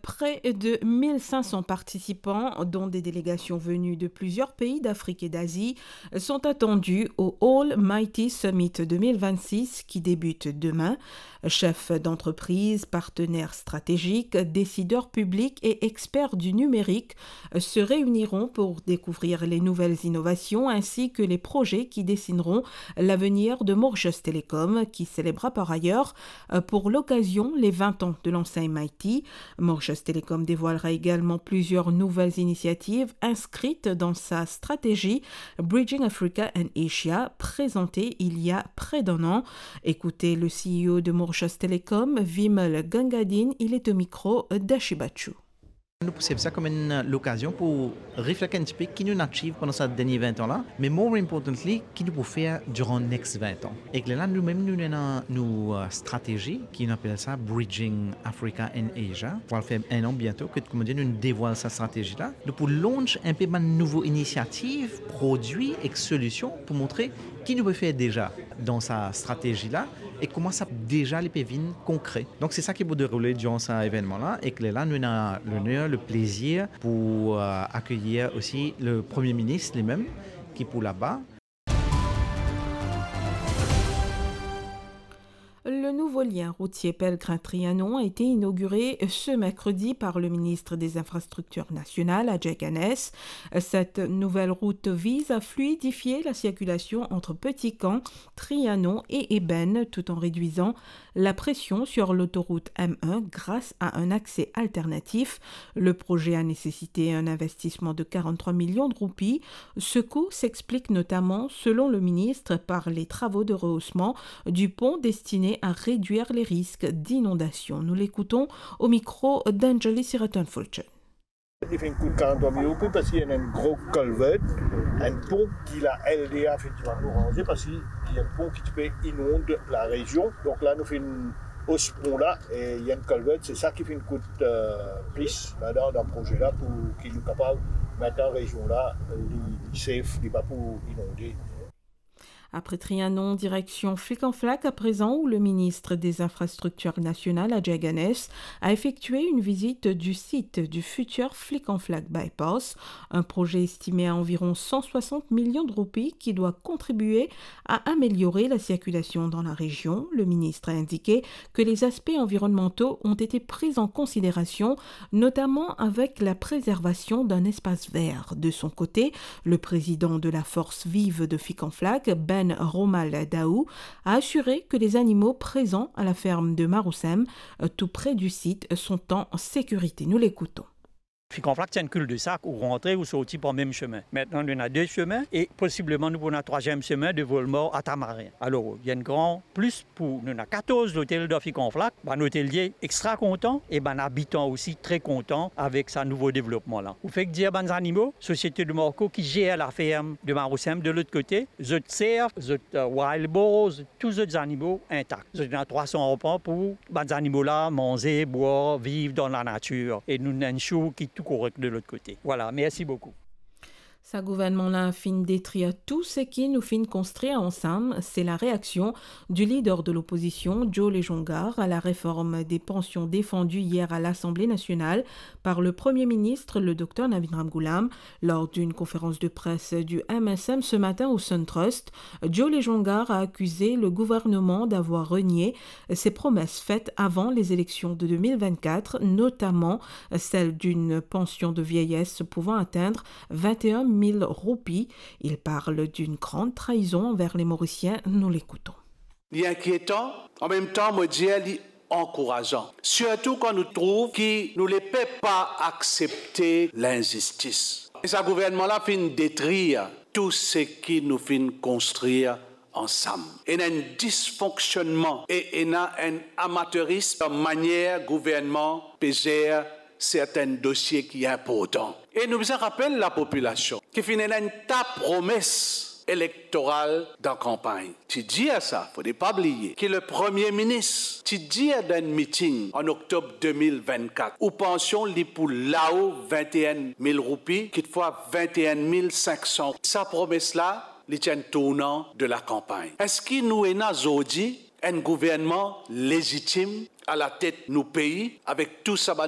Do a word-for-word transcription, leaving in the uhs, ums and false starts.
Près de mille cinq cents participants, dont des délégations venues de plusieurs pays d'Afrique et d'Asie, sont attendus au All Mighty Summit deux mille vingt-six qui débute demain. Chefs d'entreprise, partenaires stratégiques, décideurs publics et experts du numérique se réuniront pour découvrir les nouvelles innovations ainsi que les projets qui dessineront l'avenir de Mauritius Telecom, qui célébrera par ailleurs, euh, pour l'occasion, les vingt ans de l'enseigne Mighty. Mauritius Telecom dévoilera également plusieurs nouvelles initiatives inscrites dans sa stratégie Bridging Africa and Asia, présentée il y a près d'un an. Écoutez le C E O de Mauritius Telecom, Vimal Gangadine, il est au micro d'Ashi Bachoo. Nou persev sa kom enn lokazion pou reflekt enn tipe ki nou achieve pandan sa dernie vin an la, me more importantly, ki nou pou fer diran next vin an. Ek lerla, nou mem, nou ena nou, euh, stratezi ki nou apel sa Bridging Africa and Asia. Pou al fer enn an biento, ke, kouma dir, nou devwal sa stratezi la. Nou pou launch enpe bann nouvo inisiativ, prodwi ek solision pou montre ki nou pe fer deza dan sa stratezi la e kouma sa deza li pe vinn konkre. Donk, se sa ki pou deroule diran sa evennman la, ek lerla, nou ena loner, le plezir pou, euh, akeyir osi le Premie Minis limem, ki pou laba. Le nouveau lien routier Pellegrin-Trianon a été inauguré ce mercredi par le ministre des Infrastructures nationales, Adjei Ganès. Cette nouvelle route vise à fluidifier la circulation entre Petit-Camp, Trianon et Ébène, tout en réduisant la pression sur l'autoroute M un grâce à un accès alternatif. Le projet a nécessité un investissement de quarante-trois millions de roupies. Ce coût s'explique notamment, selon le ministre, par les travaux de rehaussement du pont destinés à réduire les risques d'inondation. Nous l'écoutons au micro d'Anjali Siraton-Fulcher. Li finn kout karant-trwa mil roupi parski ena enn gro culvert, enn pon ki la L D A finn dimann nou ranze parski li enn pon ki ti pe inond larezion. Donk la nou finn os pon la e li enn culvert, se sa ki finn kout, euh, plis ladan dan proze la pou ki nou kapav, aster rezion la, li, li safe, li pa pou inonde. Après Trianon, direction Flic en Flac à présent, où le ministre des Infrastructures nationales, Adjei Ganès, a effectué une visite du site du futur Flic en Flac Bypass, un projet estimé à environ cent soixante millions de roupies qui doit contribuer à améliorer la circulation dans la région. Le ministre a indiqué que les aspects environnementaux ont été pris en considération, notamment avec la préservation d'un espace vert. De son côté, le président de la Force Vive de Flic en Flac, Ben Romal Daou, a assuré que les animaux présents à la ferme de Marousem, euh, tout près du site, sont en sécurité. Nous l'écoutons. Flic en Flac, c'est un cul-de-sac, ou rantre, ou sorti par mem semin. Maintenant, nou ena de semin e posibleman nou pou ena trwaziem semin de Volmar à Tamarin. Alor, li enn gran plis pou nou. Nou ena katorz lotel dan Flic en Flac, bann otelie extra kontan e bann abitan osi tre kontan avek sa nouvo devlopman la. Ou fek dir bann zanimo, Société de Marco ki zer la ferme de Marousem de lot kote, zot serf, zot, euh, wild boar, zot tou zot zanimo intak. Zot ena trwa san arpan pou bann zanimo la manze, bwar, viv dan lanatir. E nou ena enn show ki tou korek de lot kote. Voilà, merci beaucoup. Sa gouvernman la finn detrir tou seki nou finn konstrir ansam, c'est la réaction du leader de l'opposition, Joe Lejongar, à la réforme des pensions défendue hier à l'Assemblée nationale par le Premier ministre, le docteur Navin Ramgoolam, lors d'une conférence de presse du M S M ce matin au Sun Trust. Joe Lejongar a accusé le gouvernement d'avoir renié ses promesses faites avant les élections de deux mille vingt-quatre, notamment celle d'une pension de vieillesse pouvant atteindre vingt et un mille roupies. Il parle d'une grande trahison envers les Mauriciens. Nous l'écoutons. Li inkietan, an mem tan, mo dir, li ankourazan. Sirtou kan nou trouv ki nou lepep pa aksepte linzistis. E sa gouvernman la finn detrir tou seki nou finn konstrir ansam. Ena enn disfonksionnman e ena enn amaterism dan manier gouvernman pe zer sertin dosie ki inportan. E nou bizin rapel lapopilasion ki finn ena enn ta promes elektoral dan kanpagn. Ti dir sa, fode pa bliye ki le Premie Minis ti dir dan enn miting an oktob de mil vinn-kat, ou pansion li pou lao vinn-e-enn mil roupi, kitfwa vinn-e-enn mil sink san. Sa promes la, li ti enn tournan de lakanpagn. Eski nou ena zordi enn gouvernman lezitim alatet nou pei avek tou sa bann